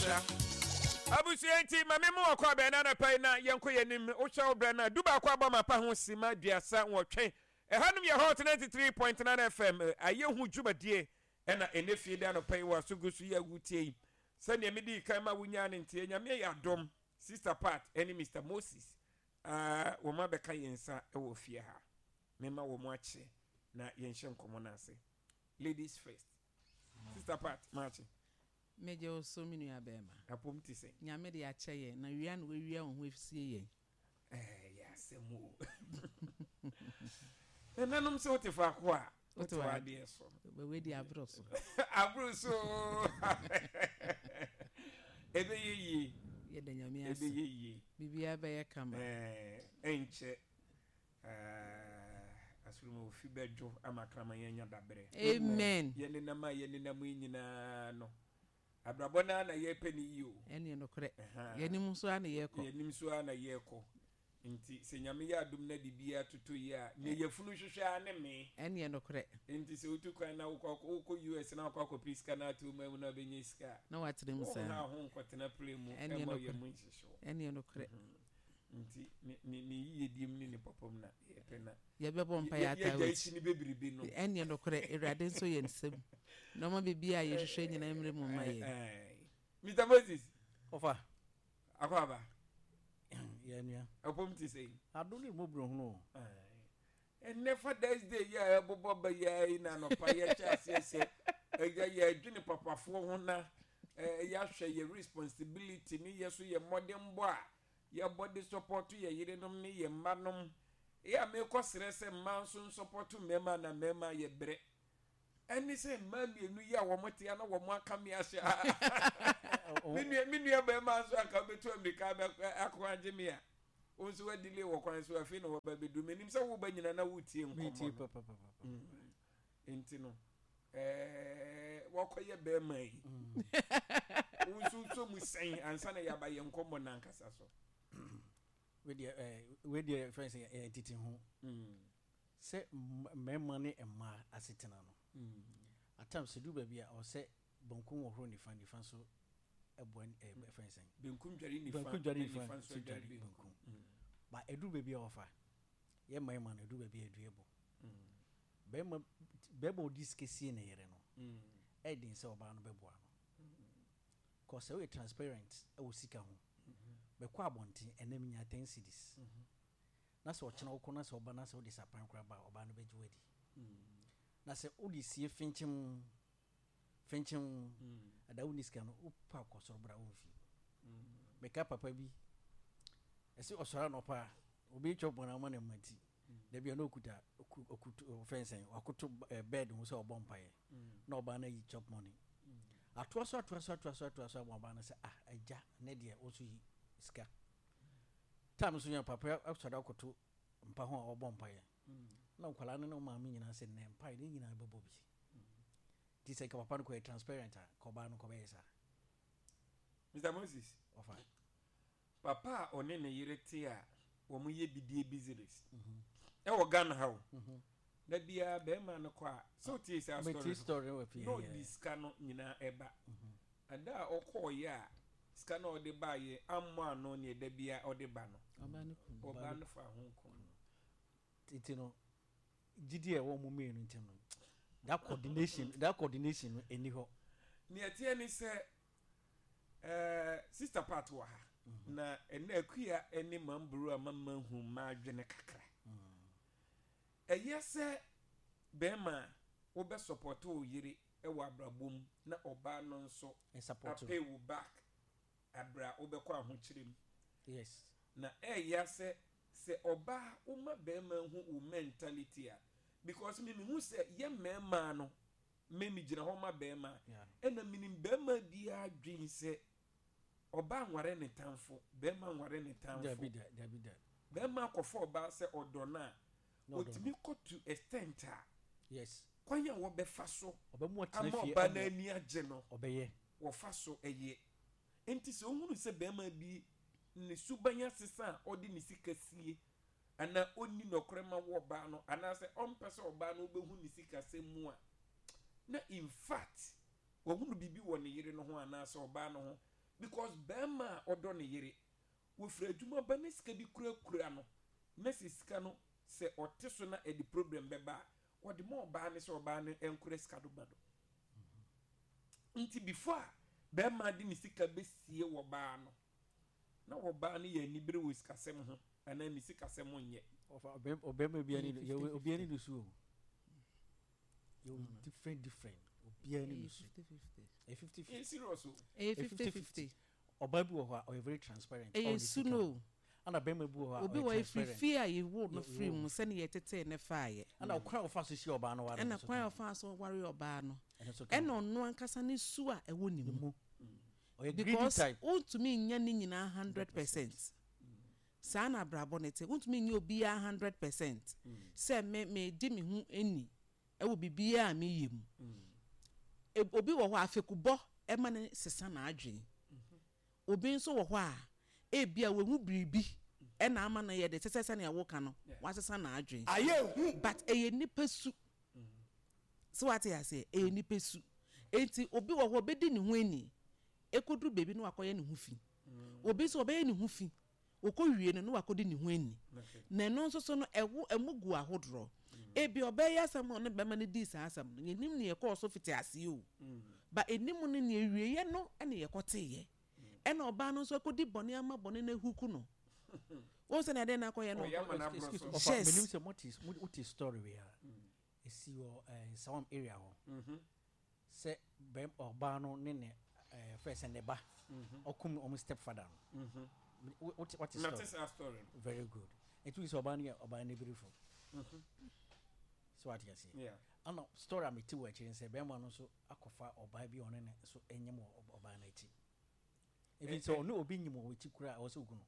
Sa. Abusua nti ma me mu ɔkɔ abɛn na anapa yi na yɛnkɔ yɛn anim. Wohwɛ wo brɛ no a, 11 abɔ mapa ho sima 38. Ɛhanom yɛ Hot 93.9 FM ayɛ hu dwumadie ɛna ɛnɛ fie da anɔpa yi wɔ aso gu so yi a wotie yi. Sɛdeɛ medii kan ma wonyaa ne nteɛ, Nyame ayɛ adom, Sister Pat ɛne Mister Moses ah, wɔn abɛka yɛn nsa wɔ fie ha. Mema wɔn akye na yɛnhyɛ nkɔmmɔ no ase. Ladies first. Sister Pat, maakye. Megye wo so me nua bɛɛma. Apom te sɛn? Nyame de akyɛ yɛn na wia na wawia wo ho asie yɛn. Ɛyɛ asɛm o. Nananom sɛ wote faako a wote w'adeɛ so. Wei di aboro so. Aboro so. Ɛbɛyɛ yie. Yɛda Nyame ase. Ɛbɛyɛ yie. Biribiara bɛyɛ kama. Ɛnkyɛ Asoromu ofi bɛdwo ama kraman anya dabrɛ. Amen. Yɛnenam a yɛnenam yi nyinaa no, abrabɔ no ara na yɛrepɛ no yie o. Ɛneɛ nokorɛ. Yɛnim nso ara na yɛrekɔ. Yɛnim nso ara na yɛrekɔ. Nti sɛ Nyame yɛ adom na biribiara totɔ yie a, nea yafunu hwehwɛ ara ne mee. Ɛneɛ nokorɛ. Nti sɛ wotu kwan na wokɔ wokɔ US na wokɔ akɔpere sika na ato wo man mu na wobɛnya sika a, Na woatena mu saa. wonha wo ho nkɔtena plane mu Ɛneɛ mma wo nokorɛ. yam nhyehye wo. Ɛneɛ nokorɛ. Nti ne ne ne yiyedie mu ne ne papa mu na yɛpɛ na. Yɛbɛbɔ mpaeɛ ataa Yɛagyae w'akyi. si no bebrebe no. Ɛnneɛ nokorɛ, Awurade nsɔ yɛn nsam, na ɔmma biribiara a yɛhwehwɛ nyinaa mmrɛ mu mma yɛn. Mister Moses. Ɔfa. Akwaaba. Yɛ nua. Ɛpɔm te sɛn? Adom ne mmɔborɔhunu o. Ɛnnɛ Father's Day yi a ɛbobɔ ba yi ara yi na anɔpa yɛhyɛ aseɛ sɛ ɛyɛ yɛdwene papafoɔ ho na yɛahwɛ yɛ responsibility ne yɛ so yɛ mmɔdenbɔ a yɛbɔ de sɔpɔto yɛ yerenom ne yɛ mma nom. Yɛ a mekɔ srɛ sɛ mmaa nso nsɔpɔto mmarima na mmarima yɛ brɛ. Ɛne sɛ mmaa mmienu yi a wɔn te a na wɔn aka me ahyɛ a. Me nua me nua barima nso anka wobɛtu amirika akɔ agye me a. Wo nso wa delay wɔ kwan so afei na waba bɛduru. Menim sɛ woba nyina na wotie nkɔmmɔ no. Nti no ɛɛ wakɔyɛ bɛrima yi. Wo nso wosɔ mu sɛn ansa na yɛaba yɛn nkɔmmɔ no ankasa so. Wei deɛ fɛn sɛ ɛyɛ tete ho. Sɛ mmarima ne mmaa asetena no. At times ɛduru baabi a ɔsɛ bankum wɔ horo nifa, nifa nso ɛboa ɛɛ fɛn sɛn. Benkum dware nifa, benkum dware na nifa nifa nso nso dware dware benkum. benkum. Ba ɛduru baabi a ɔfa yɛ mmarima no ɛduru baabi a ɛdua bɔ. Bɛrima bɛrima ɔdi sika sie ne yere no ɛyɛ den sɛ ɔbaa no bɛboa no. Kɔ sɛ woyɛ transparent ɛwɔ sika ho. Bɛkɔ abɔnten ɛnɛ menya 10 cedis. Na sɛ ɔkyena wokɔ na sɛ ɔba na sɛ wode sapan koraa ba a ɔbaa no bɛgye wo adi. Na sɛ wode sie finkyim Fenkyem, ada wonni sika no, wopɛ a kɔ soro bra womfi. Meka papa bi, ɛsɛ ɔsɔre anɔpa a, obi twɛ bɔn ama ne mma ti. Da bi a na okuta okutu fɛnsɛn, wakoto bed ho sɛ ɔbɔ mpaeɛ. Na ɔbaa no ayi chop money. Atoa so atoa so atoa so atoa so ama ɔbaa no sɛ ah agya ne deɛ wo nso yi sika. Time nso yɛn papa asɔre akoto mpa ho a ɔbɔ mpaeɛ. Na nkwadaa no ne ɔmaame nyinaa sɛ nnɛ mpaeɛ ne nyinaa bɛbɔ bi. Nti sɛ nka papa no kɔyɛ transparent a, nka ɔbaa no nka ɔbɛyɛ saa. Mister Moses, Ɔfa. Papa a ɔne ne yere te a wɔn yɛ bidie business ɛwɔ Ghana ha o. Da biara bɛrima no kɔ a, sɛ wotie saa story Metie story no wɔ fie. na ɔde sika no nyinaa ɛba. Ada a ɔkɔɔyɛ a sika no a ɔde baayɛ ammɔ ano neɛ da biara ɔde ba no, Ɔbaa no kum no. ɔbaa no faa ho kum no. Nti no, gyidi a ɛwɔ wɔn mmienu ntam no, that coordination, that coordination no ɛni hɔ. Nea ɛteɛ ne sɛ, eh, Sister Pat wɔ ha, na ɛnɛ Akua ne Mamburu ama mahu m'adwene kakra. Ɛyɛ sɛ bɛrima a wobɛ support wo yere wɔ abrabɔ mu na ɔbaa no nso apay wo back abrɛ a wobɛkɔ ahokyere mu. Yes. Na ɛɛya sɛ sɛ ɔbaa woma bɛɛma hu wo mentality a because me mehu sɛ yɛ mɛɛmaa no me me gyina hɔ ma bɛɛma ɛna menim bɛɛma biara dwen sɛ ɔbaa nware ne tamfo bɛɛma nware ne tamfo. Dabi da dabi da. Bɛɛma akɔfa ɔbaa sɛ ɔdɔ no a ɔtumi kɔ to extent a Yes. kwan a wɔbɛfa so Ɔbɛmu atena ama fie ɔbaa no ama ani agye no ɔbɛyɛ. wɔfa so yɛ. Enti sɛ wohunu sɛ barima bi ne suban asesa a ɔde ne sika sie anaa ɔnni nɔkorɛ ma wɔ ɔbaa no anaasɛ ɔmpɛ sɛ ɔbaa no bɛhu ne sikasɛm mu a, na in fact wahunu biribi wɔ ne yere no ho anaasɛ ɔbaa no ho. Because barima a ɔdɔ ne yere, wɔfiri adwuma ba na sika bi kurakura no, na sɛ sika no sɛ ɔte so na ɛde problem bɛba a, ɔde ma ɔbaa no sɛ ɔbaa no nkora sika do ma no. Nti before a barima de ne sika bɛsie wɔ baa no, na ɔbaa no yɛ anibere wɔ sikasɛm ho anaa ne sikasɛm nyɛ. Ɔfa ɔbɛrima bi ani obi ani no su o. Yɛ different different obi ani no su. Ɛyɛ 50 50. Ɛyɛ serious o. Ɛyɛ 50 50. Ɔbaa bi wɔ hɔ a ɔyɛ very transparent. Ɛyɛ su no o. Ɛna bɛrima bi wɔ hɔ a Obi ɔyɛ wɔ efiri transparent. fie a yɛwoo no Yɛ firi woo mu no. sɛnea yɛtetee no faeɛ. Ɛna ɔkwan a ɔfa so hyia ɔbaa no ware no Ɛna nso kwan ka a ho. ɔfaa so waree ɔbaa no. Ɛno nso ka Ɛna ho. ɔno ankasa ne su a ɛwɔ ne Ne mu. mu. Ɔyɛ greedy Because type. wontumi nyɛ ne nyinaa 100%. Saa na abrabɔ no te. Wontumi nyɛ obiara 100% sɛ me medi me ho ni wɔ biribiara a meyɛ mu. Obi wɔ hɔ a afekubɔ ma no sesa n'adwene. Obi nso wɔ hɔ a, ebia wahu biribi na ama no yɛ de, te sɛ sɛnea woka no, wasesa n'adwene. But ɛyɛ nipa su. So wate aseɛ? Ɛyɛ nipa su. Enti obi wɔ hɔ obedi ne ho ani, ekodu baabi na wakɔyɛ ne ho fi. Obi nso ɔbɛyɛ ne ho fi, Ɔkɔwie no, na wakɔdi ne ho ani. Na ɛno nso so no, ɛwo, ɛmo gu ahodoɔ. Ebia ɔbaa yi asɛm a ɔne bɛrima no dii saa asɛm no, yɛnnim nea ɛkɔɔ so fiti aseɛ o. Ba ɛnim no, nea awieeɛ no na yɛkɔteeɛ. Ɛna ɔbaa no nso akɔdi bɔne ama bɔne no ahuku no. Wohu sɛnea adeɛ no akɔyɛ no? Ɔyɛ ama no aborɔ Excuse so. me, ɔfa, Yes. menim sɛ mote, mo- wote story wei a, ɛsi wɔ eh, Nsawam area hɔ. Sɛ bɛm ɔbaa no ne ne ɛɛ fɛ sɛ ne ba ɔkum wɔn step father no wote wote Mate story saa story no. Very good. Nti sɛ ɔbaa no yɛ ɔbaa no birifo so wate aseɛ. Yeah. Ana story a mete wɔ akyire sɛ bɛrima no nso akɔfa ɔbaa bi a ɔne ne nso nyem wɔ ɔbaa no akyi. Ebi sɛ ɔne obi nyem wɔ akyi koraa a ɛwɔ sɛ ogu no.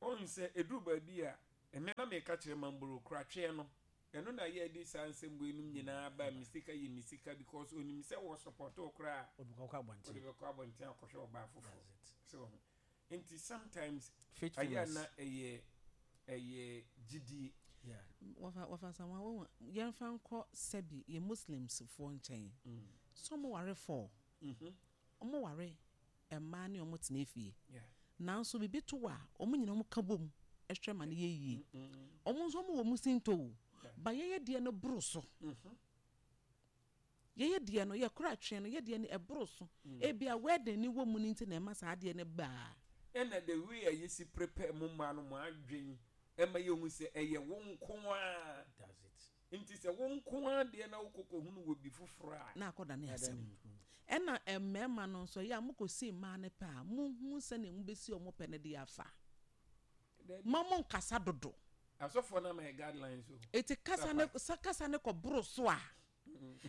Wohu sɛ ɛduru baabi a, ɛnnɛ na meka kyerɛ Mamboro koratweɛ no, ɛno na yɛde saa nsɛm wei nom nyinaa ba, me sika yɛ me sika because ɔnim sɛ wɔ support wo koraa a, Ɔde bɛkɔ abɔnten. ɔde bɛkɔ abɔnten akɔhwɛ ɔbaa foforɔ. That's it. So wohu? Nti sometimes ɛyɛ a Faithfulness. na ɛyɛ ɛyɛ gyidie. Yeah. Wɔfa wɔfa Asamoah wohu yɛmfa nkɔ sɛbi yɛ Muslims foɔ nkyɛn sɛ ɔmo ware four ɔmo ware mmaa ne wɔn tena fie. Nanso biribi to a, wɔn nyinaa wɔka bom hwɛ ma no yɛ yie. Wɔn nso wɔwɔ wɔn sintɔ o, but yɛyɛ deɛ no boro so. Yɛyɛ deɛ no, yɛkora atwe no, yɛ deɛ no ɛboro so. Ebia wedding no wɔ mu no nti na ɛma saa adeɛ no ba. Ɛna the way a yɛsi prepare mo mmaa no mo adwen ɛma yɛhu sɛ ɛyɛ wo nko ara. That's it. Nti sɛ wo nko ara deɛ na wokɔ kɔhunu wɔ bi foforɔ a. Na akɔdane asɛm. Ɛna mmarima no nso, ɛyɛ a mokɔsi mmaa no pɛ a, monhu sɛdeɛ mobɛsi wɔn pɛ no de afa. Mma monnkasa dodo. Asɔfoɔ no ama yɛ guidelines o. Enti kasa no, sɛ kasa no kɔboro so a,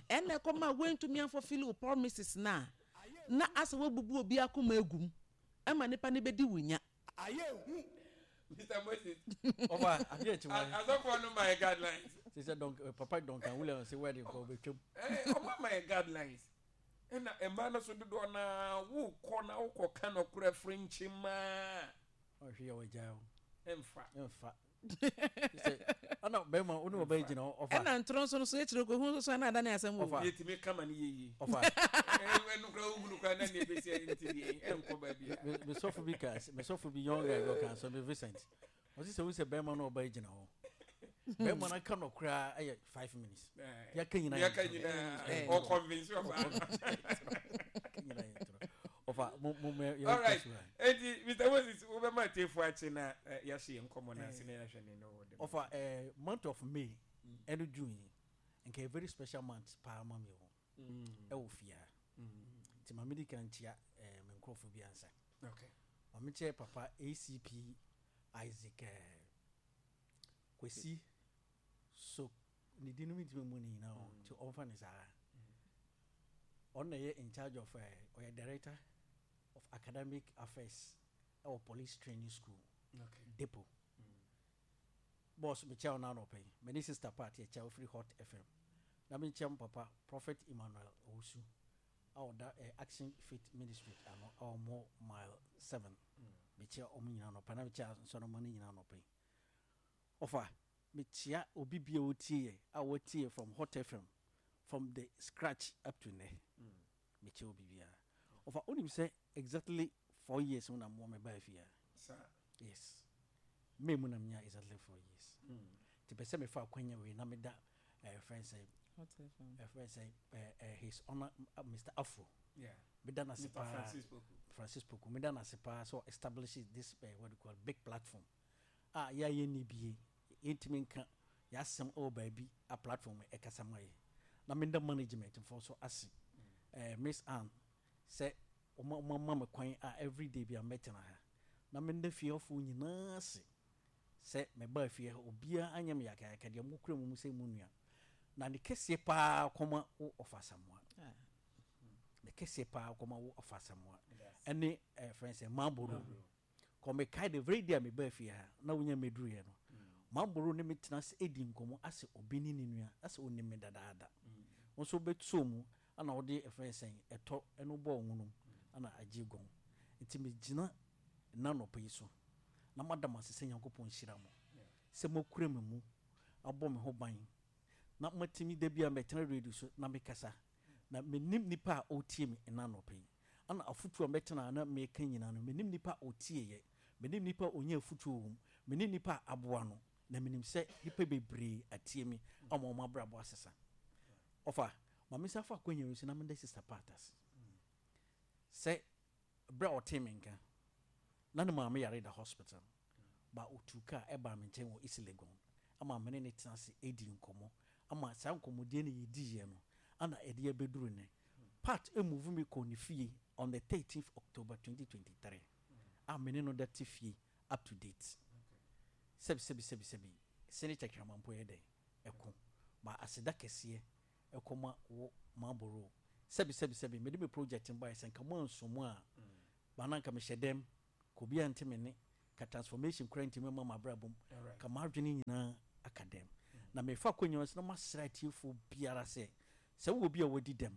ɛna ɛkɔma woantumi amfulfil wo promises no a, na asɛ woabubu obi akoma agu mu, ɛma nipa no bɛdi wo nya. Ayɛ hu. Mr. Moses. Ɔba adeɛ akyi wɔn. Asɔfoɔ no ma yɛ guidelines. Sɛ Dɔnk eh, papa Duncan Williams sɛ wedding kɔ ɔbɛtwam. Eh, ɔmo ama yɛ guidelines. Ɛna mmaa no so dodoɔ naa wokɔ na wokɔ ka nɔkorɛ firinkyi maa. Ɔhwɛ yɛ wɔgya o. Ɛnfa. Ɛnfa. Sɛ ɛna bɛrima wo ne ɔbaa gyina hɔ ɔfa. Ɛna ntorɔ nso no so yɛkyerɛ kɔ hu nso so ɛna adane asɛm o. Ɔfa. Yɛtumi ka ma no yɛ yie. Ɔfa. Ɛno koraa wohunu koraa na nea ɛbɛsi ayɛ nti deɛ ɛnkɔ baabi a. Me sɔfo bi ka me sɔfo bi young guy bi ɔka asɛm bi Vincent. Ɔsi sɛ wohu sɛ bɛrima ne ɔbaa gyina hɔ. Bɛrima no aka no koraa ɛyɛ 5 minutes. Yɛaka nyinaa yɛ Yɛaka ntorɔ. nyinaa ɔconvince ɔbaa no. Yɛaka nyinaa yɛ ntorɔ. Ɔfa mo mo mɛ yɛ All right. kɔ so a. Enti Mr. Moses wobɛma atiefo akye na yɛahye yɛn nkɔmmɔ no ase na yɛahwɛ ne no wɔ dɛm. Ɔfa month of May ɛne June yi nka yɛ very special month paa ma mi o ɛwɔ fie ha. Nti maame di kan kyia me nkurɔfo bi ansa. Maame kyɛ papa ACP Isaac Kwesi so ne din no mi ntumi mu ne nyinaa o nti ɔmfa ne saa. Ɔno na ɛyɛ in charge of ɔyɛ director of academic affairs ɛwɔ police training school depot. Boss, mekyia wo n'anɔpɛ yi. Me ne sister Pat yɛkyia wo firi Hot FM. Na menkyia mo papa Prophet Emmanuel Owusu a ɔda Action Faith Ministry ano a wɔwɔ Mile 7. Mekyia wɔn nyinaa anɔpa na mekyia nsɔrɔmma no nyinaa anɔpa yi. Ɔfa, mekyia obi bi a ɔtie yɛ a wɔtie yɛ from Hot FM from the scratch up to nnɛ. Mekyia obi biara. Ɔfa, wonim sɛ exactly 4 years mu na mmoa me baa fie a. Saa. Yes, May mu na menya exactly 4 years, nti pɛ sɛ mefa akwanya wei na meda ɛfrɛ sɛ Hot FM. Ɛfrɛ sɛ His Honour Mr Afro, meda no ase Mr. paa. Francis Poku. Francis Poku, meda no ase paa sɛ establish this what you call big platform a yɛayɛ ni bie, yɛntumi nka yɛasɛm ɛwɔ baabi a platform ɛkasa ma yɛ, na meda management foɔ so ase, Miss Ann, sɛ ɔma ma me kwan a everyday bi a mɛtena ha, na meda fiefoɔ nyinaa ase sɛ mɛbaa fie ha, obiara anyɛ me yakayaka deɛ mokura mu mu sɛ mu nua, na ne kɛseɛ paa kɔma wo Ɔfa Asamoa. Ne kɛseɛ paa kɔma wo Ɔfa Asamoa ɛne ɛfrɛ sɛ Maboro kɔmekae. The very day a mebaa fie ha na wonya mɛduruiɛ no, Maboro ne metena ase ɛdi nkɔmmɔ asɛ obi ne ne nua, asɛ ɔnim me dadaada. Wo nso wobɛtoo mu ana wode ɛfrɛ sɛn ɛtɔ ɛno bɔɔ nwonum ana agye gɔn, nti megyina nna nɔpa yi so na madam ase sɛ Nyankopɔn nhyira mo sɛ moakura me mu, abɔ me ho ban, na matumi da bi a mɛtena radio so na mekasa, na menim nipa a ɔretie me nna nɔpa yi, ana afotuo a mɛtena na meka nyinaa no, menim nipa a ɔtieɛ, menim nipa a ɔnya afotuo wɔ mu, menim nipa a aboa no, na menim sɛ nipa bebree atie me ama ɔmo abrabɔ asesa. Ɔfa ma me nsa fa akɔnya yi so na meda Sister Pat ase sɛ berɛ a ɔtee me nka na ne maame yare da hospital ba, otu kaa ɛbaa me nkyɛn wɔ East Legon ama me ne ne tena ase edi nkɔmmɔ, ama saa nkɔmmɔdie no yɛdiiɛ no ana ɛde abɛduru nɛ. Pat emove me kɔɔ ne fie on the 13th October 2023 a me ne no da te fie up to date. Sɛbi sɛbi sɛbi sɛbi, sɛne tɛkrɛma mpo yɛ dɛn ɛko ma aseda kɛseɛ ɛkɔma wo Maboro. Sɛbi sɛbi sɛbi, mede me project no baeɛ sɛ nka mo anso mu a bana nka mehyɛ dɛm ka obi ante me ne ka transformation kora ntimi ma mabrabɔ mu ka m'adwene nyinaa aka dɛm, na mefa akonnwa so na masrɛ atiefoɔ biara sɛ sɛ wowɔ bi a wadi dɛm,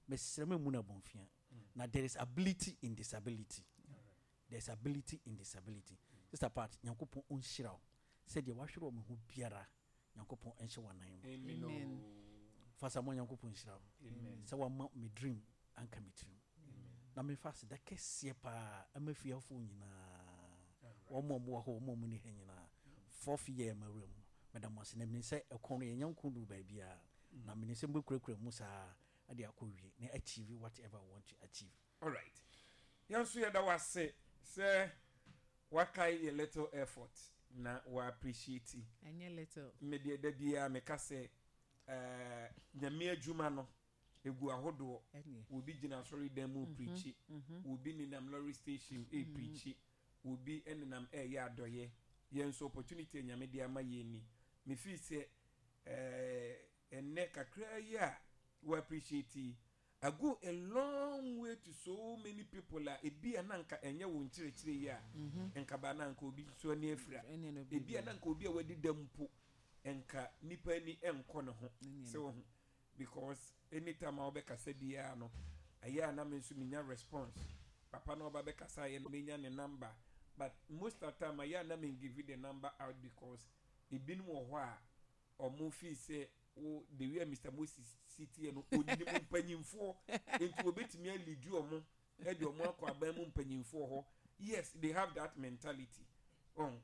mesrɛ ma mu no abɔmfia, na there is ability in disability, there is ability in disability. Sister Pat, Nyankopɔn ɔnhyira wo sɛdeɛ wahwere wɔ me ho biara, Nyankopɔn ɛnhyɛ w'anan mu. Amen. Amen. Fasa mo, Nyankopɔn nhyira wo Amen. sɛ wama me dream anka me tirim, na mefa aseda kɛseɛ paa ama fiafoɔ nyinaa, wɔn a wɔwɔ hɔ, wɔn a wɔn ni ha nyinaa. Fourth year ma wura mu, meda mo ase, na menim sɛ ɛkɔn no yɛnya nko duru baabiara, na menim sɛ mbɛkurakura mu saa de akɔ wie na achieve whatever I want to achieve. Alright, yɛn nso yɛda wo ase sɛ wakae yɛ little effort na wa appreciate. Ɛnyɛ little. Medeɛ da biara meka sɛ Nyame adwuma no egu ahodoɔ. Ɛneɛ. Obi gyina asɔredan mu preach, obi nenam lorry station ɛpreach, obi nenam ɛyɛ adɔyɛ. Yɛn nso opportunity a Nyame de ama yɛn ni, mefii sɛ ɛnnɛ kakra yi a wɔ appreciate yi, I go a long way to so many people a ebi a na nka ɛnyɛ wo nkyerɛkyerɛ yi a nka ba na nka obi nso ani afira. Ɛneɛ no. Ebi a na nka obi a wadi dɛm mpo nka nipa ani nkɔ ne ho Ɛneɛ sɛ no. wɔn ho, because anytime a wɔbɛkasa biara no, ɛyɛ a na me nso menya response. Papa na ɔba bɛkasa yɛ no, menya ne number, but most of the time ɛyɛ a na me give the number out because ebinom wɔ hɔ a ɔmo fi sɛ wo the way a Mr Moses si teɛ no, onim mpanyinfoɔ, nti obetumi alead ɔmo ɛde ɔmo akɔ aban mu mpanyinfoɔ hɔ. Yes, they have that mentality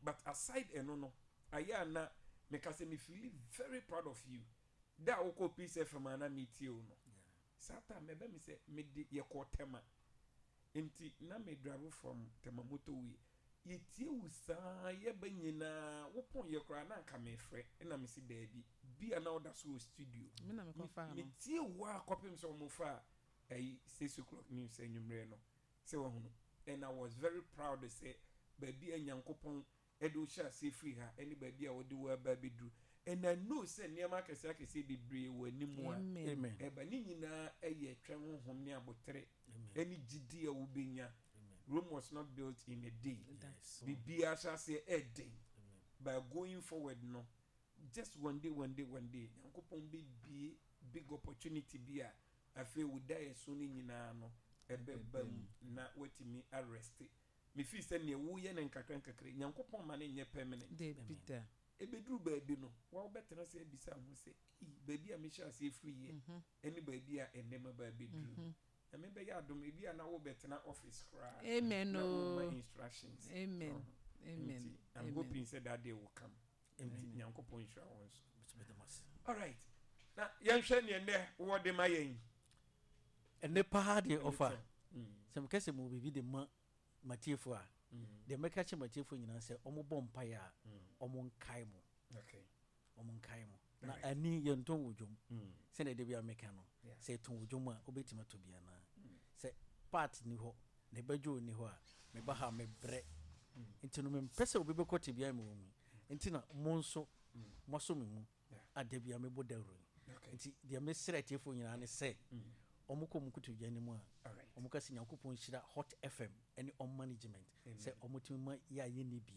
but aside ɛno no, ayɛ a na meka sɛ me feel very proud of you. Da a wokɔ Peace FM a na metie o no, saa time ɛbɛ mi sɛ mede yɛkɔ Tema, nti na me drive from Tema motorway, yɛtie wo saa yɛba nyinaa, wopɔn yɛ koraa na anka mefrɛ, ɛna mesi daabi bia na woda so wɔ studio. Me na mekɔfaa no. Metie wo a kɔpem sɛ ɔmo fa ɛyi 6 o'clock news anwummerɛ no sɛ wahunu, and I was very proud sɛ baabi a Nyankopɔn ɛde wo hyɛ aseɛ firi ha ɛne baabi a wɔde wo aba abɛduru, and I know sɛ nneɛma akɛseɛ akɛseɛ bebree wɔ anim a Amen. Amen. ɛba ne nyinaa ɛyɛ twɛn honhom ne abotere Amen. ɛne gyidi a wobɛnya. Amen. Rome was not built in a day. Yes. Biribiara hyɛ aseɛ ɛɛden Amen. by going forward no, just one day, one day, one day, Nyankopɔn bɛbie big opportunity bi a afei wo da yɛ so no nyinaa no ɛbɛba mu na watumi arest. Mefii sɛ neɛ woyɛ no nkakra nkakra, Nyankopɔn ma no nyɛ permanent. Dabi da. Ɛbɛduru baabi no wa wobɛtena sɛ abisa ho sɛ, "Ei, baabi a mehyɛ aseɛ firi yɛ ɛne baabi a ɛnnɛma ba bɛduru." Nyame bɛyɛ adom, ebi a na wobɛtena office koraa. Amen na woma oo. instructions. Amen. Amen. Nti, I'm Amen. hoping sɛ that day will come. Nti, Nyankopɔn nhyira wo nso. Nso meda mo ase. Alright. Na yɛnhwɛ neɛ nnɛ wowɔ de ma yɛn. Ɛnnɛ paa deɛ ɔfa sɛ meka sɛ mewɔ biribi de ma m'atiefoɔ a, deɛ mɛka akyerɛ m'atiefoɔ nyinaa sɛ wɔbɔ mpaeɛ a, wɔnkae mo. Okay. Wɔnkae mo. Na ani yɛntɔn wɔ dwom. Sɛdeɛ da biara meka no, sɛ yɛtɔn wɔ dwom a, wobɛtumi atɔ bi anaa? Sɛ part nni hɔ, na ɛbɛdwo nni hɔ a, meba ha a mebrɛ. Nti no mempɛ sɛ obi bɛkɔ tebea a mewɔ mu yi. Nti na mo nso moasɔ me mu a da biara mebɔ dawuro yi. Nti deɛ mesrɛ atiefoɔ nyinaa ne sɛ, wɔkɔ wɔn nkotodwe anim a, wɔka sɛ Nyankopɔn nhyira Hot FM ne wɔn management sɛ wɔtumi ma yɛ a yɛnni bi,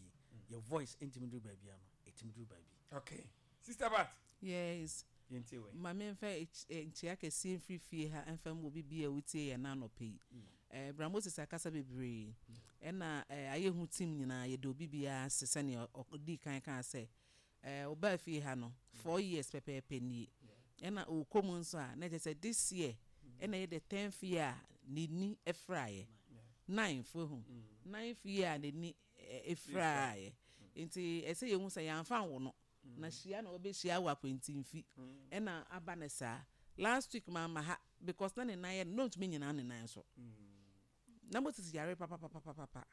yɛ voice ntumi duru baabi a no, ɛtumi duru baabi. Okay. Sister Bat. Yes. Yɛntie wei. Ma memfa nkyea kɛseɛ mfiri fie ha mfa mmɔ obi biara a ɔtie yɛn anɔpa yi. Eh, Bra Moses akasa bebree. Ɛna eh, ayɛ hu team nyinaa yɛda obi biara ase sɛnea ɔdii kan kaa sɛ eh, ɔbaa fie ha no 4 years pɛpɛɛpɛ nie. Ɛna ɔrekɔ mu nso a na kyerɛ sɛ this year ɛna ɛyɛ the 10th year a n'ani fraeɛ. Ninth ehu. Ninth year a n'ani efiraeɛ. Nti ɛsɛ yɛhu sɛ yɛamfa nwo no. Na hyia na wɔbɛhyia wɔ akwantimfi ɛna aba ne saa. Last week maama ha because na ne nan yɛ no na ɔntumi nyina ne nan so. Na Moses yare papapapapapa.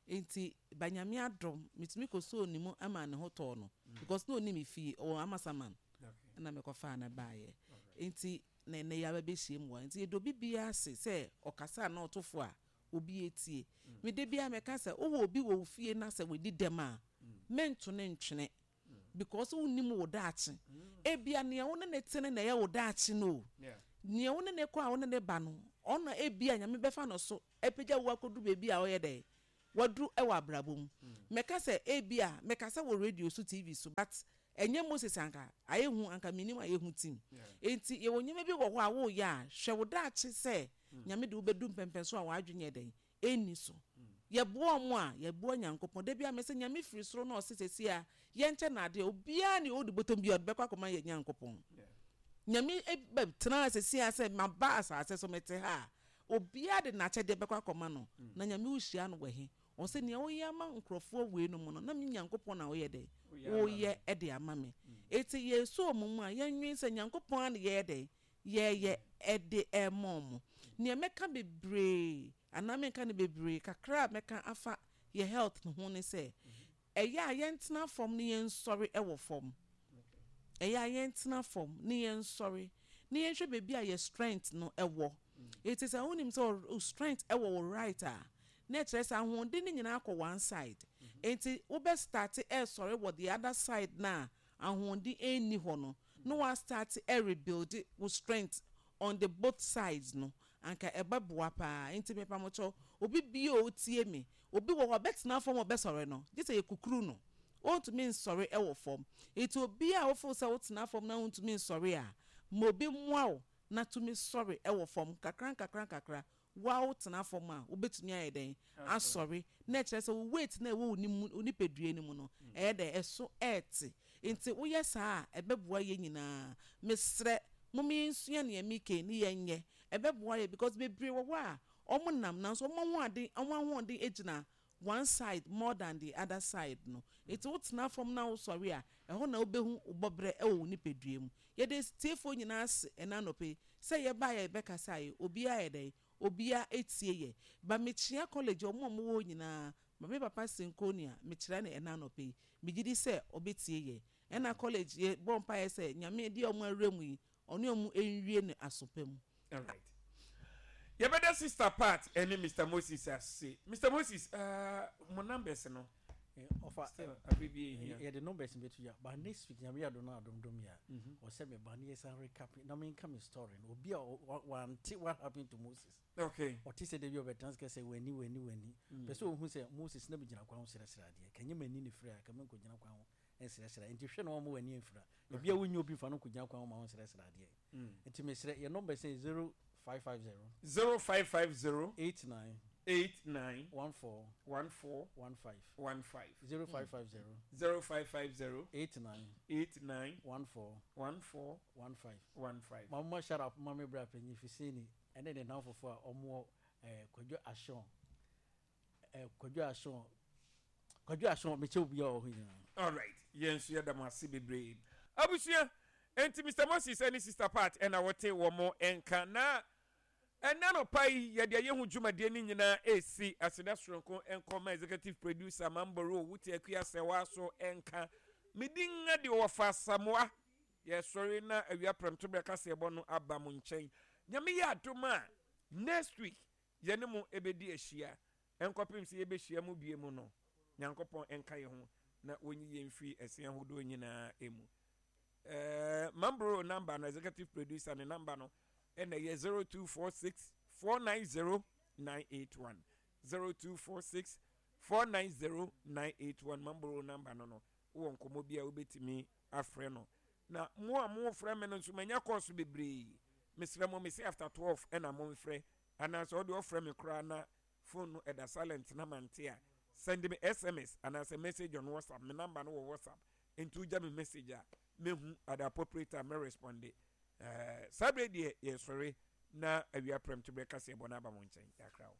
Nti banyame adom metumi kɔsoo ne mu ama ne ho tɔɔ no because na ɔnim fie, ɔwɔ Amasaman ɛna mekɔfaa no baeɛ. Nti na ɛnɛ yɛaba bɛhyia mu wɔ ha. Nti yɛdɔ obi biara ase sɛ ɔkasa na ɔtofo a obi etie. Mede biara mɛka sɛ wowɔ obi wɔ wo fie na sɛ wadi dɛm a, mɛnto ne ntwene because wonnim wo daakye. Ebia nea wo ne ne te no na ɛyɛ wo daakye no o. Nea wo ne ne kɔ a wo ne ne ba no, ɔno ebia Nyame bɛfa no so apagya wo akɔduru baabi a ɔyɛ dɛn waduru wɔ abrabɔ mu. Mɛka sɛ ebia mɛkasa wɔ radio so, TV so, but ɛnyɛ Moses anka ayɛ hu anka menim ayɛ hu team. Enti yɛwɔ nneɛma bi wɔ hɔ a woyɛ a, hwɛ wo daakye sɛ Nyame de wobɛdu mpɛmpɛn so a w'adwene yɛ dɛn ɛnni so. Yɛboa ɔmo a, yɛboa Nyankopɔn. Da biara mese Nyame firi soro na ɔse seesei a yɛnkyɛ no adeɛ, obiara ne ɔdi bɔtɔm biara ɔde bɛkɔ akɔma yɛn Nyankopɔn. Nyame bɛtena seesei a sɛ maba asase so mete ha a, obiara de n'akyɛdeɛ bɛkɔ akɔma no. Na Nyame wohyia no wɔ he? Ɔse nea woyɛ ama nkurɔfoɔ wei nom no, na me Nyankopɔn na woyɛ dɛn? Woyɛ de ama me. Enti yɛsɔ ɔmo mu a, yɛnwen sɛ Nyankopɔn ara na yɛyɛ dɛn? Yɛyɛ de rema ɔmo. Nea mɛka bebree anaa menka no bebree, kakra a mɛka afa yɛ health ho ne sɛ, ɛyɛ a yɛntena fam na yɛnsɔre wɔ fam. Ɛyɛ a yɛntena fam na yɛnsɔre na yɛnhwɛ baabi a yɛ strength no wɔ. Enti sɛ wonim sɛ wo strength wɔ wo right a, na ɛkyerɛ sɛ ahoɔden no nyinaa kɔ one side. Enti wobɛ start ɛresɔre wɔ the other side no a ahoɔden nni hɔ no, na wa start ɛrebuild wo strength on the both sides no, anka ɛbɛboa paa. Enti mepamokyɛw, obi biara a otie me, obi wɔ hɔ a ɔbɛtena fam a ɔbɛsɔre no, gye sɛ yɛkukuru no. Ontumi nsɔre wɔ fam. Enti obiara a wofeel sɛ wotena fam na wontumi nsɔre a, ma obi mmoa wo na tumi sɔre wɔ fam nkakra nkakra nkakra. Wo a wotena fam a, wobɛtumi ayɛ dɛn? Asɔre. Na ɛkyerɛ sɛ wo weight no a ɛwɔ wo mu, wo nipadua no mu no, ɛyɛ dɛn? Ɛso ɛrete. Enti woyɛ saa a, ɛbɛboa yɛn nyinaa. Mesrɛ, momma yɛnsua nea meka yi ne yɛnyɛ. Ɛbɛboa yɛn because bebree wɔ hɔ a, wɔnam nanso wɔn ahoɔden, wɔn ahoɔden gyina one side more than the other side no. Enti wotena fam na wosɔre a, ɛhɔ na wobɛhu wo bɔberɛ wɔ wo nipadua mu. Yɛda atiefoɔ nyinaa ase ɛnnɛ anɔpa yi sɛ yɛbaeɛ a yɛbɛkasaeɛ, obiara ayɛ dɛn? Obiara atie yɛ. Ba mekyea college wɔn a wɔwɔ hɔ nyinaa, ma me papa Sinkonia mekyerɛ no ɛnnɛ anɔpa yi. Megye di sɛ ɔbɛtie yɛ. Ɛna college yɛbɔ mpaeɛ sɛ Nyame deɛ wɔn awura mu yi, ɔne wɔn nwie no aso pa mu. Alright. Yɛbɛda Sister Pat ɛne Mr Moses ase. Mr Moses, mo numbers no. Ɔfa Still, abere bi ehia. Yɛde numbers no bɛto dwa, but next week Nyame yɛ adom na adom dom yɛ a, ɔsɛ meba na yɛsan recap na menka me story no. Obi a wante what happened to Moses. Ɔte sɛ da bi ɔbɛtena ase ka sɛ w'ani, w'ani, w'ani. Pɛ sɛ ohu sɛ Moses na megyina kwan ho srɛsrɛ adeɛ. Ka nyɛ m'ani na efira a, ka menkɔgyina kwan ho nsrɛsrɛ. Nti hwɛ na wamma w'ani amfira. Ebia wonnya obi mfa no nkɔgyina kwan ho ma ɔnsrɛsrɛ adeɛ. Nti mesrɛ, yɛn numbers no yɛ 0550. 0550. 89. 89. 14. 14. 15. 15. 0550. 0550. 89. 89. 14. 14. 15. 15. Ma momma shout out ma me bra panyin Fiseni. Ɛne ne nnamfofoɔ a wɔwɔ ɛɛ Kwadwo Ahyɔn ɛɛ Kwadwo Ahyɔn Kwadwo Ahyɔn mekyɛ obiara wɔ hɔ nyinaa. Alright, yɛn nso yɛda mo ase bebree. Abusua, enti Mister Moses ne Sister Pat na wɔte wɔn nka. Na ɛnnɛ anɔpa yi, yɛde ɛyɛ ho dwumadie no nyinaa resi aseda soronko nkɔ ma Executive Producer Mamboro Wote Akua Sɛwa so nka. Me din de Ɔwɔfa Asamoah. Yɛsɔre na awia prɛmtoberɛ kaseɛbɔ no aba mo nkyɛn. Nyame yɛ adom a, next week yɛne mo bɛdi ahyia. Ɛnkɔpem sɛ yɛbɛhyia mu bio mu no, Nyankopɔn nka yɛn ho na ɔnyi yɛn mfiri ɛse ahodoɔ nyinaa mu. Eh, Mambro number no, executive producer ne number no ɛna ɛyɛ 0246 490 981. 0246 490 981 Mambro number no no. Wowɔ nkɔmmɔ bi a wobɛtumi afrɛ no. Na mo a mofrɛ me no nso manya kɔɔso bebree. Mesrɛ mo, mese after 12 ɛna momfrɛ. Anaasɛ wode ɔfrɛ me koraa na phone no ɛda silent na mante a, send me SMS anaasɛ message on WhatsApp. Me number no wɔ WhatsApp. Nti wogya me message a, mɛhu at the appropriate time mɛ responde. Ɛɛ, saa berɛ deɛ yɛsɔre na awia prɛmto berɛ kaseɛbɔ no aba mo nkyɛn. Yɛakra wo.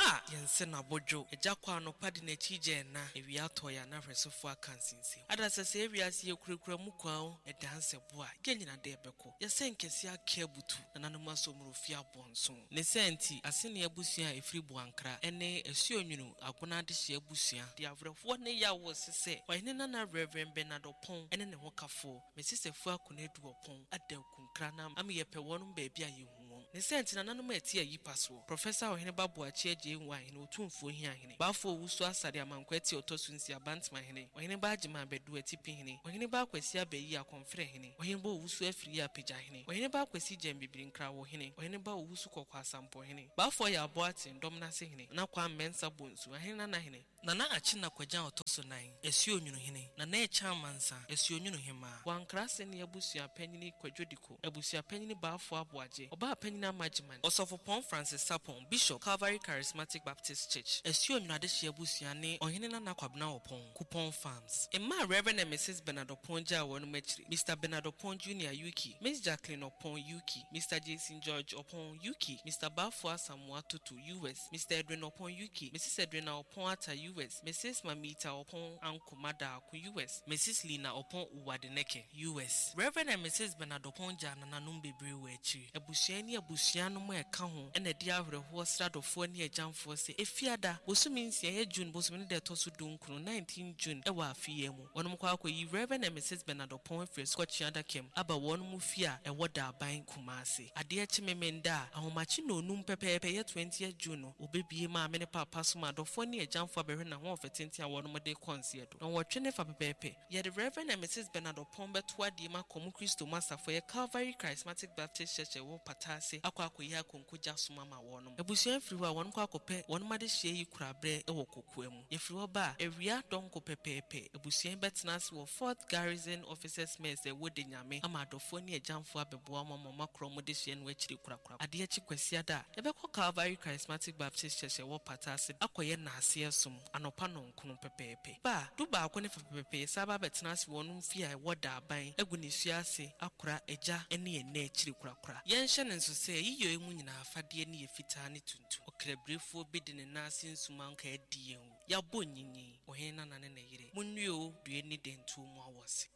A yɛnse no abodwo. Agya kɔ anɔpa de n'akyi gya ɛna. Awia atɔ yɛ a na ahwɛsofo aka nsensɛm. Adasa sɛɛ wiase yɛ kurakura mu kwa o. Ɛda nsɛ bo a, yɛn nyina dɛ ɛbɛkɔ. Yɛsɛ nkɛseɛ ake abutu. Nananom asɔmuro fie abɔnso. Ne saa nti, Asene abusua a ɛfiri Boankra ne Asuonwunu Agona Adehyeɛ abusua de awerɛhoɔ ne yaw rese sɛ Ɔhene Nana Rev. Bernard Ɔpɔn ne ne hokafoɔ, Mrs Afua Konadu Ɔpɔn ada Akunkra na ama yɛpɛ wɔnom baabi a yɛhu wɔn. Ne saa nti nananom a ɛte ayi pa soɔ, Professor Ɔheneba Boakye Agyei Nwa Hene, Otumfoɔ Hia Hene, Bafo Owusu Asare Amankwa Ati a ɔtɔ so nsia, Bantama Hene, Ɔheneba Agyeman Badu Atipi Hene, Ɔheneba Akwasi Abayi Akɔmferɛ Hene, Ɔheneba Owusu Afiriyi Apagya Hene, Ɔheneba Akwasi Gyambibiri Nkrawo Hene, Ɔheneba Owusu Kɔkɔ Asampɔ Hene, Bafo Ɔyɛ Aboaten Dɔmnase Hene, Nana Kwame Mensah Bonsu, Ahene Nana Hene, Nana Akyena Kwagyan a ɔtɔ so nan, Asuonwunu Hene, Nana Ɛkyɛ Amansa, Asuonwunu Hemaa. Wankra Sene Abusua Panyini Kwadwo Diko, Abusua Panyini Baafoɔ Aboagye, Ɔbaa Panyini Ama Agyeman, Ɔsɔfopɔn Francis Sarpong, Bishop, Calvary Charismatic Baptist Church, Asuonwunu Adehyeɛ Abusua ne Ɔhene Nana Kwabena Ɔpɔn, Kupɔn Farms. Mma a Rev. And Mrs. Bernard Ɔpɔn gyaa wɔnom akyiri, Mister Bernard Ɔpɔn Junior, UK, Miss Jacqueline Ɔpɔn, UK, Mister Jason George Ɔpɔn, UK, Mister Baafoɔ Asamoah Toto, US, Mister Edwin Oppong, UK, Mrs Edwina Oppong Atta, US, Mrs Mamita Oppong Ankomah Darko, US, Mrs Lina Oppong Uwadeneke, US. Rev. And Mrs Bernard Oppong gyaa nananom bebree wɔ akyiri. Abusua ne abusua nom a ɛka ho na ɛde awerɛhoɔ srɛ adɔfoɔ ne agyamfoɔ sɛ Efiada, bosome nsia, ɛyɛ June bosome no da ɛtɔ so dunkron, 19 June, wɔ afe yi mu. Wɔnom kɔ akɔyi Rev. And Mrs Bernard Oppong afiri asukɔtweaa adaka mu aba wɔnom fie a ɛwɔ Daaban, Kumasi. Adeɛ kye Memenda a, ahomakye nnɔnnum pɛpɛɛpɛ yɛ 20th June no, wɔbɛbue maame ne paapa som a adɔfoɔ ne agyamfoɔ abɛhwɛ n'ahoɔfɛ tenten a wɔnom de rekɔ nseɛ do. Nnɔnwɔtwe ne fa pɛpɛɛpɛ, yɛde Rev. And Mrs Bernard Oppong bɛto adeɛ mu akɔ mo Kristo mu asafo ɛyɛ Calvary Charismatic Baptist Church a ɛwɔ Pata ase akɔ akɔyi akonko gya som ama wɔnom. Abusua firi hɔ a, wɔnom kɔ akɔpɛ wɔnom adehyeɛ yi kuraberɛ wɔ Kokoa mu. Yɛfiri hɔ ba a, awia dɔnko pɛpɛɛpɛ, abusua yi bɛtena ase wɔ Fourth Garrison Officers Mess a ɛwɔ Denyame ama adɔfoɔ ne agyamfoɔ abɛboa wɔn ama wɔakora wɔn dehyeɛ no akyiri korakora. Adeɛ kye Kwasiada a, yɛbɛkɔ Calvary Charismatic Baptist Church a ɛwɔ Pata ase akɔyɛ nnaaseɛ som anɔpa nnɔnkron pɛpɛɛpɛ. Ba a, dubaako ne fa pɛpɛɛpɛ, yɛsan ba abɛtena ase wɔ wɔn fie a ɛwɔ Daaban agu ne sua ase akora agya ne ɛna akyiri korakora. Yɛnhyɛ no nso sɛ, yiyɔ yi mu nyinaa afadeɛ no yɛ fitaa ne tuntum. Ɔkrabirefoɔ bi de ne nan ase nsuma anka adi yɛn o. Yɛabɔ nyinyin, ɔhene nana ne ne yere. Monnue o, due ne dɛntuo mu awɔse.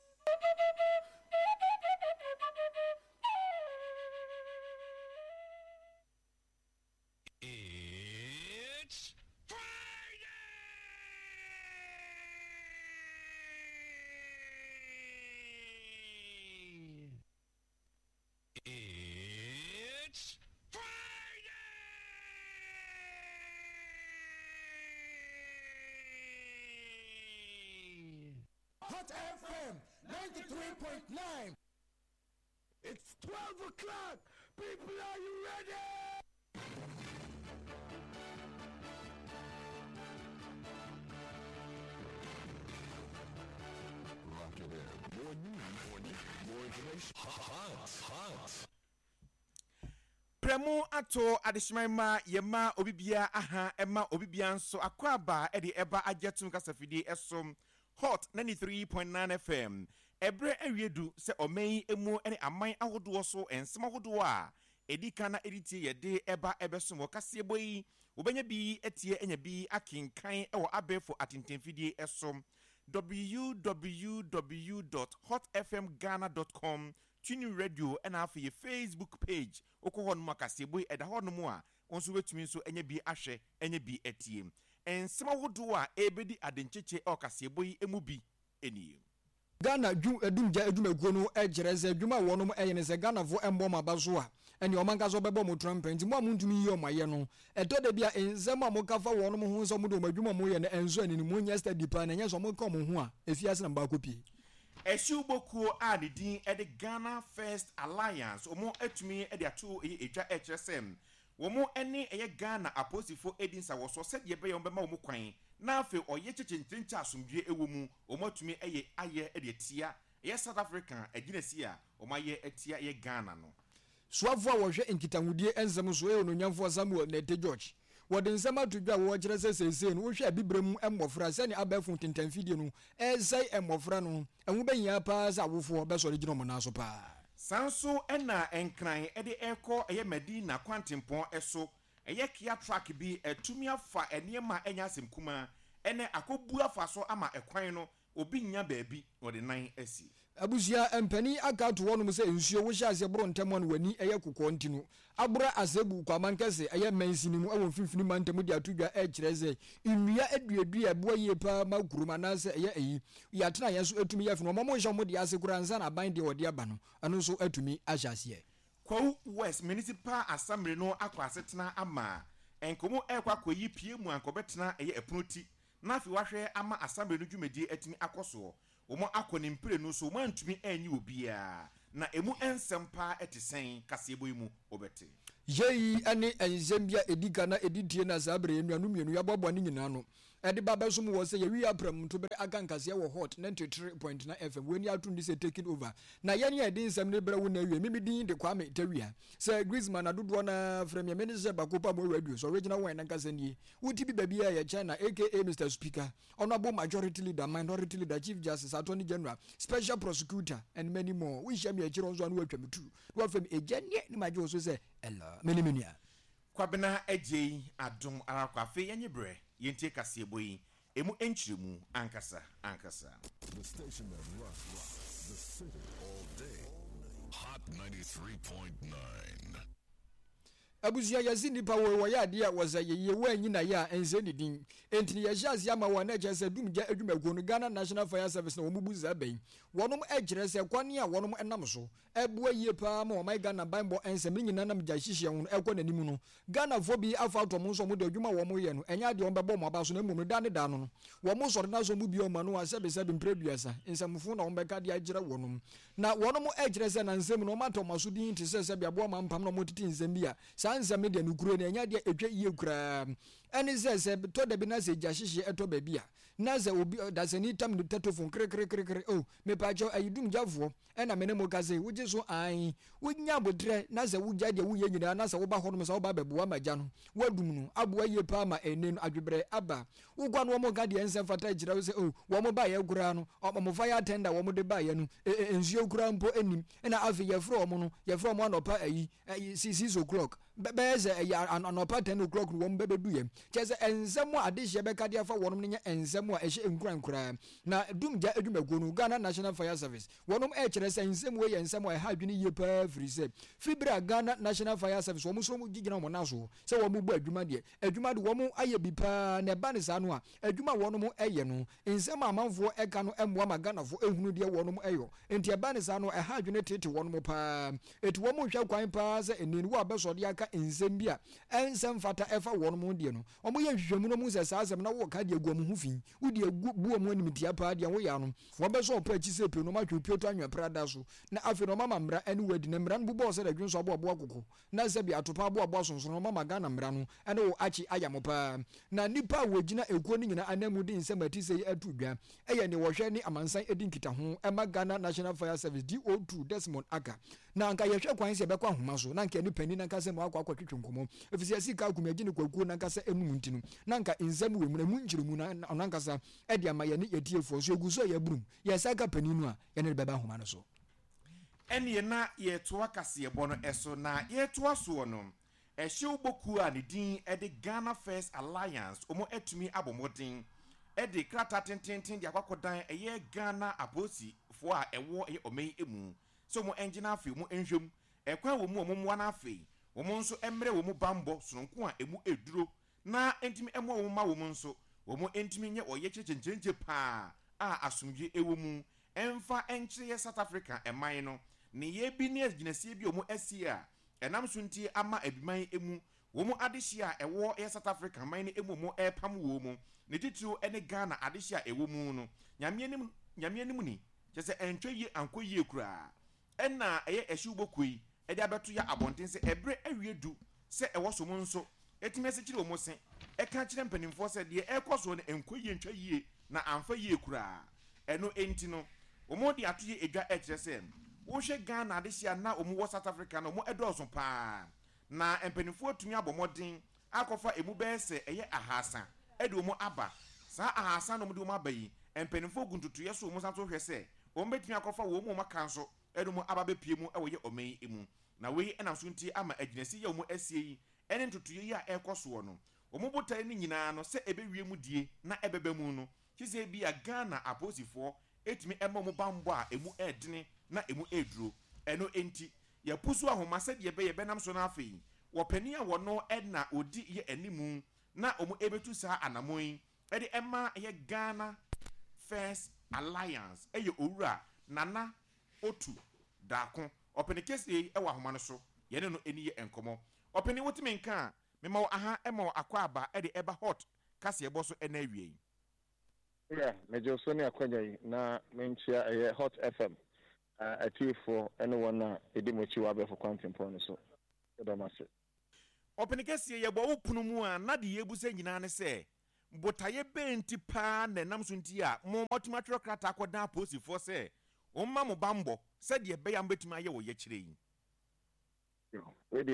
It's Friday! It's Friday! Hot FM 93.9. It's 12 o'clock. People, are you ready? Rock it in. More news, more news, more information. Hot, hot. Prɛmo ato adehyeman ma yɛma obi biara aha ɛma obi biara nso akwaaba ɛde ɛba agye atum kasafidie ɛso Hot 93.9 FM. Ɛberɛ awie du sɛ ɔman yi mu ne aman ahodoɔ so nsɛm ahodoɔ a ɛdi kan na ɛdi tie yɛde ɛba ɛbɛsom wɔ kaseɛbɔ yi. Wobɛnya bi atie anya bi akenkan wɔ abɛɛfo atentamfidie so, www dot hotfmghana dot com, TuneIn Radio ɛna afei yɛ Facebook page. Wokɔ hɔ nom a kaseɛbɔ yi ɛda hɔ nom a wo nso wobɛtumi nso anya bi ahwɛ anya bi atie. Nsɛm ahodoɔ a ɛrebɛdi adenkyekye wɔ kaseɛbɔ yi mu bi nie. Ghana dwu dumgya adwumakuo no kyerɛ sɛ adwuma a wɔnom yɛ ne sɛ Ghanafoɔ mmɔ wɔn aba so a, ɛneɛ wɔn ankasa wɔbɛbɔ wɔn trumpet. Nti mo a montumi nyi wɔn ayɛ no, ɛtɔ da bi a nsɛm a moka fa wɔnom ho sɛ wɔde wɔn adwuma a wɔyɛ no ɛnsɔ ani no, monyɛ steady paa na ɛnyɛ sɛ wɔka wɔn ho a, afiase na mobɛakɔ pie. Ahyiwbɔ kuo a ne din de Ghana First Alliance wɔn atumi de ato ɛyɛ dwa ɛrekyerɛ sɛ wɔn ne ɛyɛ Ghana apolisifoɔ redi nsawɔsoɔ sɛdeɛ ɛbɛyɛ wɔn bɛma wɔn kwan na afei ɔyɛ kyekyentrenkyɛ a asomdwoeɛ wɔ mu wɔn atumi ɛyɛ ayɛ de atia ɛyɛ South Africa agyinasie a wɔn ayɛ atia ɛyɛ Ghana no. Soafoɔ a wɔhwɛ nkitahodie nsɛm so yɛ Onuonyamfoɔ Samuel Nartey George. Wɔde nsɛm ato dwa a wɔkyerɛ sɛ seesei no wohwɛ Abibirem mu mmɔfra sɛnea abɛɛfo ntentanfidie no resɛe mmɔfra no, ɛho bɛhia paa sɛ awofoɔ bɛsɔre gyina wɔn nan so paa. Saa nso na Nkran de rekɔ ɛyɛ Madina kwantempɔn so, ɛyɛ Kia truck bi atumi afa nneɛma a ɛnyɛ asɛm kumaa ɛnɛ akɔbu afa so ama ɛkwan no obi nnya baabi na ɔde nan asi. Abusua mpanin aka ato hɔnom sɛ nsuo wohyɛ aseɛ boro ntɛm a na w'ani yɛ kɔkɔɔ nti no abora Asebu Kwamankɛse ɛyɛ mansini mu wɔ mfimfini mantam de ato dwa ɛkyerɛ sɛ nnua aduadua ɛboa yie paa ma kurom anaasɛ ɛyɛ ayi yɛ atenaeɛ nso ɛtumi yɛ fɛ na wɔn nhyɛ wɔn deɛ ase koraa ansa na aban deɛ wɔde aba no ɛno nso atumi ahyɛ aseɛ. Kwawu West Municipal Assembly no akɔ asetena ama nkɔmmɔ ɛrekɔ akɔyi pie mu a anka ɔbɛtena ɛyɛ ɛpono ti na afei wahwɛ ama Assembly no dwumadie atumi akɔ soɔ. Wɔn akɔ ne mprenu so, wɔn antumi anyi obiara. Na emu nsɛm paa te sɛn? Kaseɛbɔ yi mu wobɛte. Yei ne nsɛm bi a ɛdi kan na ɛdi tie na saa berɛ yi anuanom mmienu yi aboaboa ne nyinaa ano de ba abɛsom wɔ sɛ yɛwie apram ntoberɛ aka nkaseɛ wɔ Hot 93.9 FM. Wei ne ato nni sɛ Taking Over. Na yɛn a yɛde nsɛm no rebrɛ wo nnɛ awie. Me me din de Kwame Tawia. Sɛ Griezmann na dodoɔ no ara frɛ me a, mene sɛ Baako Pa Mo Radio so original one ankasa nie. Wote bi baabiara yɛ China aka Mister Speaker. Honourable Majority Leader, Minority Leader, Chief Justice, Attorney General, Special Prosecutor and many more. Wohyia me akyire hɔ nso a na woatwa me tu. Na woafrɛ me Agya neɛ na magye wo so sɛ Hello, me ne me nua. Kwabena Agyei Adom ara kwa. Afei yɛnye berɛ yɛntie kaseɛbɔ yi ɛmu nkyerɛmu ankasa ankasa. The station that rocks the city all day. Hot 93.9. Abusua yɛse nnipa woi wɔyɛ adeɛ a wɔsɛ yɛyie woanyi na yɛ a ɛnsɛ ne din enti no yɛhyɛ aseɛ ama wɔn na ɛkyerɛ sɛ dum gya adwumakuo no Ghana National Fire Service na wɔn bu saa bɛ yi wɔnom ɛkyerɛ sɛ kwane a wɔnom ɛnam so ɛboa yie paa ma ɔman Ghana banbɔ nsɛm ne nyinaa nam gya hyehyeɛ ho no ɛkɔ n'anim no Ghanafoɔ bi afa ato wɔn nso wɔn de adwuma a wɔn yɛ no ɛnyɛ adeɛ wɔn bɛbɔ wɔn aba so na mmom no daa ne daa no no wɔn sɔre na sɛ wɔn bue wɔn ano a sɛbe sɛbe mprɛ aduasa nsɛmfo na wɔn bɛka de akyerɛ wɔnom Na wɔnom kyerɛ sɛ nansa mu no wɔn atɔ wɔn aso dinn te sɛ sɛbe aboa mampam na wɔtete nsɛm bi a saa nsɛm no deɛ nokorɛ ni ɛnyɛ adeɛ a ɛtwa yie koraa. Ɛne sɛ, sɛ tɔ da bi na sɛ gya hyehyeɛ tɔ baabi a na sɛ obi dasani tam ne tetofon kerekerekere oh mepaakyɛw ayi dum gyafoɔ ɛna me ne mo kasa yi wogye so aane wonya aboterɛ na sɛ wogyae deɛ woyɛ nyinaa na sɛ woba hɔnom sɛ woba abɛboa ma gya no woadum no aboa yie paa ma ɛnne no adwebrɛ aba Wokɔ a na wɔn ka deɛ ɛnsɛ mfata kyerɛ wo sɛ oh wɔn baeɛ koraa no wɔn fire tender wɔn de baeɛ no nsuo koraa mpo nnim ɛna afei yɛfrɛ wɔn no yɛfrɛ wɔn anɔpa ayi 6 o'clock bɛyɛ sɛ ɛyɛ anɔpa 10 o'clock no wɔn bɛbɛdu yɛn kyerɛ sɛ nsɛm a adehyeɛ bɛka de afa wɔn no nyɛ nsɛm a ɛhyɛ nkuran koraa na dumgya adwumakuo no Ghana National Fire Service wɔnom ɛkyerɛ sɛ nsɛm wei yɛ nsɛm a ɛha adwene yie paa firi sɛ firi berɛ a Ghana National Fire Service wɔn nso gyina wɔn nan so sɛ wɔn bɔ adwuma deɛ Adwuma de wɔn ayɛ bi paa na ɛba no saa no a, adwuma a wɔnom yɛ no, nsɛm a amanfoɔ ka no mmoa ma Ghanafoɔ hunu deɛ wɔnom yɔ. Nti ɛba no saa no a, ɛha adwene tete wɔnom paa. Enti wɔn hwɛ kwan paa sɛ nnɛ no wo a bɛsɔre aka nsɛm bi a ɛnsɛ mfata ɛfa wɔnom ho deɛ no, wɔn yɛ nhwehwɛmu na wɔhu sɛ saa asɛm no na woreka de agu wɔn ho fi, wode agu bu wɔn animtia paa deɛ woyɛ ano. Wɔbɛsɔ wo paa akyi sɛ pire na wɔatwe wo pioto anwea prada so na afei no wɔama mmara ne wo adi na mmara no bobɔ wo sɛ dadwensɔ aboaboa koko. Na sɛbi atopa aboaboa sonsono no mama Ghana mmara no ne wo akye ayam paa. Na nnipa a wɔgyina ekuo no nyinaa ananmu de nsɛm a ɛte sei ato dwa yɛ nea wɔhwɛ ne amansan di nkitaho ma Ghana National Fire Service DO2 Desmond Ackah. Na anka yɛhwɛ kwan sɛ yɛbɛkɔ ahoma so, na anka yɛne panin no ankasa mu akɔ akɔtwetwe nkɔmmɔ, efisɛ yɛasi ka akum yɛgye no kwakuo no ankasa anum nti no, na anka nsɛm wɔ mu, na emu nkyerɛmu no, ɔno ankasa de ama yɛne yɛn atiefoɔ. So yɛgu so a yɛaburum? Yɛsan ka panin no a, yɛne no bɛba ahoma no so. Ɛnneɛ na yɛretoa kaseɛbɔ no so, na yɛretoa soɔ no, ɛhyew bɔ kuo a ne din de Ghana First Alliance, wɔatumi abɔ mmɔden de krataa tenteenten de akɔ akɔdan ɛyɛ Ghana apolisifoɔ a ɛwɔ ɛyɛ ɔman yi mu sɛ wɔn ngyina afei wɔn nhwɛ mu ɛkwan wɔ mu a wɔn mmoa no afei wɔn nso mmrɛ wɔn mu banbɔ sononko a ɛmu ɛduro na ɛntumi mmoa wɔn mma wɔn nso wɔn ntumi nyɛ ɔyɛkyerɛ kyenkyerenkye paa a asomdwie ɛwɔ mu ɛmfa nkyerɛ yɛ South Africa man no nneyɛɛ bi ne agyinasie bi a wɔn asie a ɛnam so nti ama abiman mu wɔn adehyeɛ a ɛwɔ yɛ South Africa man no mu wɔn ɛrepam wɔ mu ne titiriw ɛne Ghana adehyeɛ a ɛwɔ mu no Nyame anim Nyame anim ni Kyerɛ sɛ ɛntwa yie ankɔ yie koraa. Ɛna ɛyɛ ɛhyew bɔ kuo yi de abɛto ya abɔnten sɛ ɛberɛ awie du sɛ ɛwɔ so mo nso ɛtumi asekyere wɔn se ɛka kyerɛ mpanimfoɔ sɛ deɛ ɛrekɔ soɔ no ɛnkɔ yie ntwa yie na amfa yie koraa. Ɛno nti no wɔn de ato yɛ edwa ɛkyerɛ sɛ wohwɛ Ghana adehyeɛ a na wɔn wɔ South Africa no wɔn ɛdɔɔso paa na mpanimfoɔ atumi abɔ mmɔden akɔfa emu bɛyɛ sɛ ɛyɛ ahaasa de wɔn aba. Saa ahaasa no a wɔde wɔn aba yi, mpanimfoɔ gu ntotoeɛ so wɔn san nso hwɛ sɛ wɔbɛtumi akɔfa wɔn a wɔaka nso de wɔn aba abɛpue mu wɔ yɛ ɔman yi mu. Na wei nam so nti ama agyinasie yi a wɔasie yi ne ntotoeɛ yi a ɛrekɔ soɔ no, wɔn botaeɛ no nyinaa no sɛ ɛbɛwie mu die na ɛbɛba mu no, gye sɛ ebia Ghana apolisifoɔ tumi ma wɔn bammɔ a ɛmu yɛ dene na ɛmu yɛ duro. Ɛno nti, yɛapusu ahoma sɛdeɛ ɛbɛyɛ ɛbɛnam so na afei wɔ panin a wɔno na ɔdi yɛ animu na wɔn ɛbɛtu saa anamɔn yi de ɛma ɛyɛ Ghana First Alliance ɛyɛ Owura Nana Otu Darko. Ɔpene kɛseɛ yi wɔ ahoma no so, yɛne no ɛni yɛ nkɔmmɔ. Ɔpene wotumi nka a, mema wo aha ma wo akwaaba de ɛba Hot kaseɛbɔ so ɛnɛ awia yi. Yeah, megye wo so ne akwanya yi na menkyia ɛyɛ Hot FM atiefoɔ ne wɔn a ɛdi mo akyi wɔ abɛɛfo kwantempɔn no so. Yɛda mo ase. Ɔpene kɛseɛ, yɛbɔ wo pono mu a, na deɛ yɛrebisa nyinaa ne sɛ, botaeɛ bɛn nti paa na ɛnam so nti a mo moatumi atwerɛ krataa akɔdan apolisifoɔ sɛ wɔmma mo bammɔ sɛdeɛ ɛbɛyɛ a mobɛtumi ayɛ wɔ yɛkyerɛ yi? Wei deɛ.